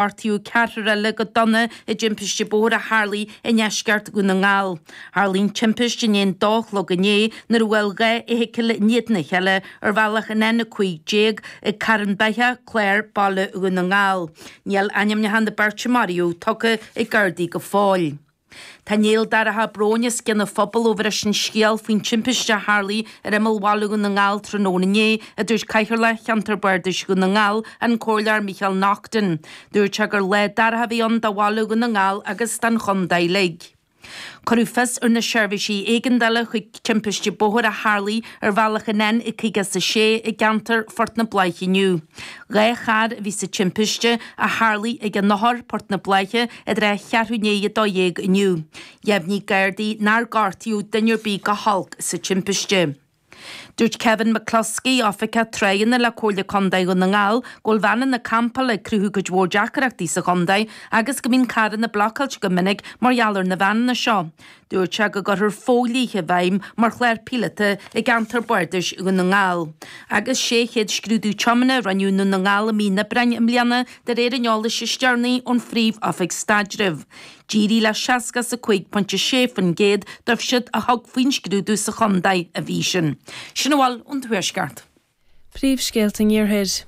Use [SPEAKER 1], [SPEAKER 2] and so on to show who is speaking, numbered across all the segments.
[SPEAKER 1] Gortaíodh ceathrar eile go dona i dtimpiste bóthair a tharlaigh i ndeisceart Dhún na nGall. Tharlaigh an timpiste i ndiaidh an dó a chlog inné nuair a bhuail 2 fheithicil i ndiaidh a chéile ar bhealach an N15 ag Carn Beithe, Clár, Baile Dhún na nGall. Níl ainmneacha na beirte a maraíodh tugtha ag Gardaí go fóill. Tá néal dorcha bróin os cionn an phobail ó bhris an scéal faoin timpiste a tharlaigh ar imeall bhaile Dhún na nGall tráthnóna inné, a dúirt Cathaoirleach Cheantar Bardais Dhún na nGall, an Comhairleoir Micheál Naughton. Dúirt sé gur lá dorcha a bhí ann do bhaile Dhún na nGall agus don chontae uilig. Cuireadh fios ar na seirbhísí éigeandála chuig timpiste bóthair a tharlaigh ar bhealach an N56 i gceantar Phort na Bláiche inniu. 2 charr a bhí sa timpiste a tharlaigh ag an Eochair, Port na Bláiche, i dtrátha cheathrú i ndiaidh 12 inniu. Dheimhnigh Gardaí nár gortaíodh duine ar bith go holc sa timpiste. Dúirt Kevin McCluskey, Oifigeach Tráigheanna le Comhairle Contae Dhún na nGall, go bhfuil veaineanna campála ag cruthú cuid mhór deacaireachtaí sa chontae agus go mbíonn carranna blocáilte go minic mar gheall ar na veaineanna seo. Dúirt sé go gcuirfear fodhlíthe i bhfeidhm mar chlár píolóta i gceantar bardais Dhún na nGall. Agus 600 scrúdú tiomána a rinneadh i nDún na nGall i mí an Aibreáin i mbliana de réir an eolais is deireanaí ón Phríomh-Oifig Staidrimh. D'éirigh le 65.6% dóibh siúd a thug faoin scrúdú sa chontae an mhí sin. Sin a bhfuil ón Tuaisceart.
[SPEAKER 2] Príomhscéalta an Iarthair.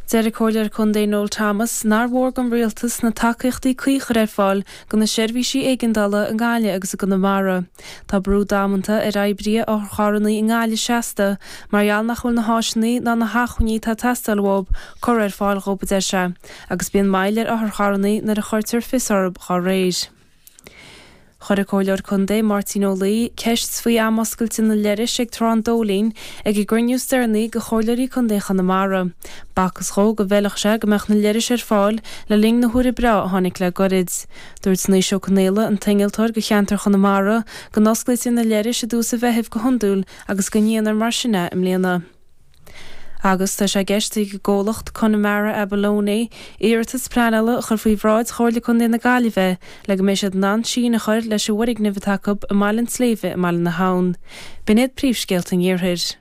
[SPEAKER 2] Deir an Comhairleoir Contae Noel Thomas nár mhór don Rialtas na tacaíochtaí cuí a chur ar fáil do na seirbhísí éigeandála i nGaillimh agus i gConamara. Tá brú damanta ar oibrithe otharcharranna i nGaillimh seasta mar gheall nach bhfuil na háiseanna ná na hacmhainní atá ag teastáil uathu curtha ar fáil dhóibh, a deir sé, agus bíonn moill ar otharcharranna nuair a chuirtear fios orthu dhá réir. Chuir an Comhairleoir Contae Máirtín Ó Laoi ceist faoi am oscailte na leithris ag Trá an Dóilín ag an gcruinniú is deireanaí de Chomhairleoirí Contae Chonamara. B'fhacthas dhó go bhfeilfeadh sé go mbeadh na leithris ar fáil le linn na huaire breá a tháinig le goirid. Dúirt Naoise Ó Conaola, an t-innealtóir do cheantar Chonamara, go n-osclaítear na leithris i dtús an Mheithimh go hiondúil agus go ndéanfar mar sin é i mbliana. Agus tá sé i gceist ag an gcomhlacht Connemara Abalone iarratas pleanála a chur faoi bhráid Chomhairle Contae na Gaillimhe le go mbeidh siad in ann síneadh a chur leis an bhfoirgneamh atá acu i mBaile an tSléibhe i mBaile na hAbhann. B'in iad príomhscéalta an Iarthair.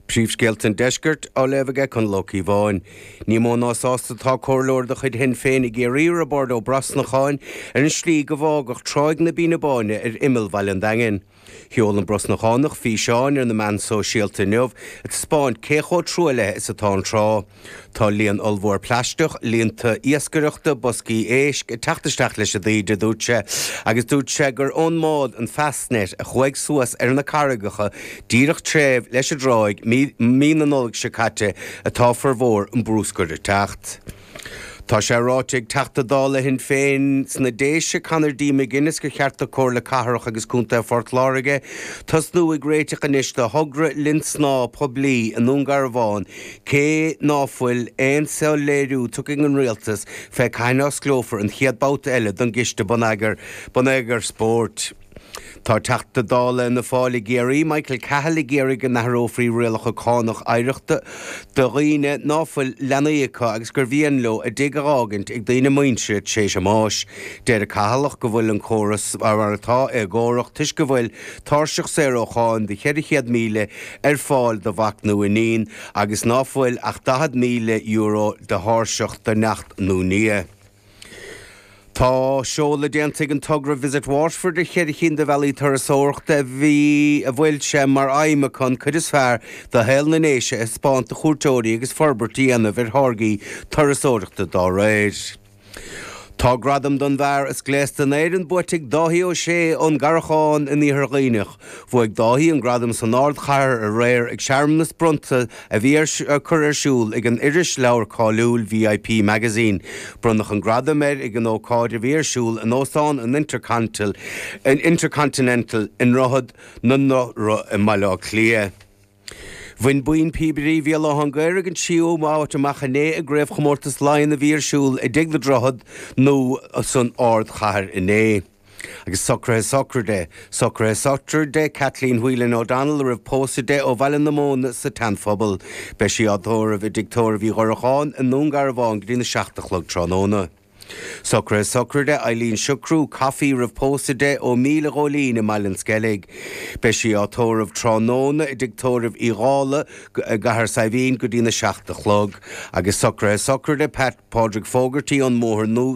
[SPEAKER 3] Príomhscéalta an Deiscirt á léamh aige Conall Ó Cíobháin. Ní mó ná sásta atá comhairleoir de chuid Shinn Féin i gCiarraí, Roibeárd Ó Brosnacháin, ar an slí go bhfágadh Tráigh na Bíne Báine ar imeall Bhaile an Daingin. Sheol an Brosnachánach físeán ar na meáin sóisialta inniu ag taispeáint cé chomh truaillithe is atá an trá. Tá líon ollmhór plaisteach, líonta iascaireachta, boscaí éisc ag teacht isteach leis an dtaoide, a dúirt sé, agus dúirt sé gur ón mbád an Fastnet a chuaigh suas ar na carraigeacha díreach taobh leis an dtráigh mí na Nollag seo caite atá formhór an brúscair ag teacht. Tá sé ráite ag Teachta Dála Shinn Féin sna Déise, Conor D. McGuinness gur cheart do Comhairle Cathrach agus Contae Phort Láirge tosnú ag réiteach anois do thogra linn snámha poiblí i nDún Garbhán cé ná fuil aon soiléiriú tugtha ag an Rialtas fé cathain a osclófar an chéad babhta eile don gCiste Bonneagair Spóirt. Tá Teachta Dála Fhianna Fáil i gCiarraí, Michael Cahill ag iarraidh go n-athrófaí rialacha cánach oidhreachta do dhaoine ná fuil leanaí acu agus gur mhian leo a dtigh a dh'fhágaint ag daoine muintire tar éis a mbáis. Deir an Cathalach go bhfuil an córas mar atá éagórach toisc go bhfuil tairseach saor ó cháin de 400,000 ar fáil do mhac nó iníon agus ná fuil ach €40,000 de thairseach do neacht nó nia. Tá seoladh déanta ag an togra Visit Waterford ar cheithre chinn de bhealaí turasóireachta a bhí a bhfuil sé mar aidhm acu an cuid is fearr de shaol na nDéise a thaispeáint do chuairteoirí agus forbairt a dhéanamh ar tháirgí turasóireachta dá réir. Tá gradam don bhfear is gléasta in Éirinn buaite ag Dáithí Ó Sé ón gCarrachán in Iarthar Dhuibhneach. Bhuaigh Dáithí an gradam san ardchathair aréir ag searmanas bronnta a bhí ar cur ar siúl ag an irisleabhar cáiliúil VIP Magazine. Bronnadh an gradam air ag an ócáid a bhí ar siúl in Óstán an Intercontinental i nDroichead na nDothra i mBaile Átha Cliath. Bhain Buíon Píobairí Bhéal Átha an Ghaorthaidh an tríú háit amach inné i gCraobhchomórtas Laighean a bhí ar siúl i dTigh na Droichead Nua san ardchathair inné. Agus socruithe sochraide, Socruithe sochraide Kathleen Whelan O'Donnell a raibh pósadh di ó Bhaile na Móna sa tSeanphobal. Beidh sí á tórramh i dTigh Tórraimh Uí Dhoracháin i nDún Garbhán go dtína 7 a chlog tráthnóna. Socruithe sochraide Eileen Siochrú, Coffey roimh pósadh di, ó Míle Ghóilín i mBaile an Sceilg. Beidh sí á tórramh tráthnóna i dtigh tórraimh Uí Dhálaigh i gCathair Saidhbhín go dtína 7 a chlog. Agus socruithe sochraide Pat Pádraig Fogarty ón mBóthar Nua.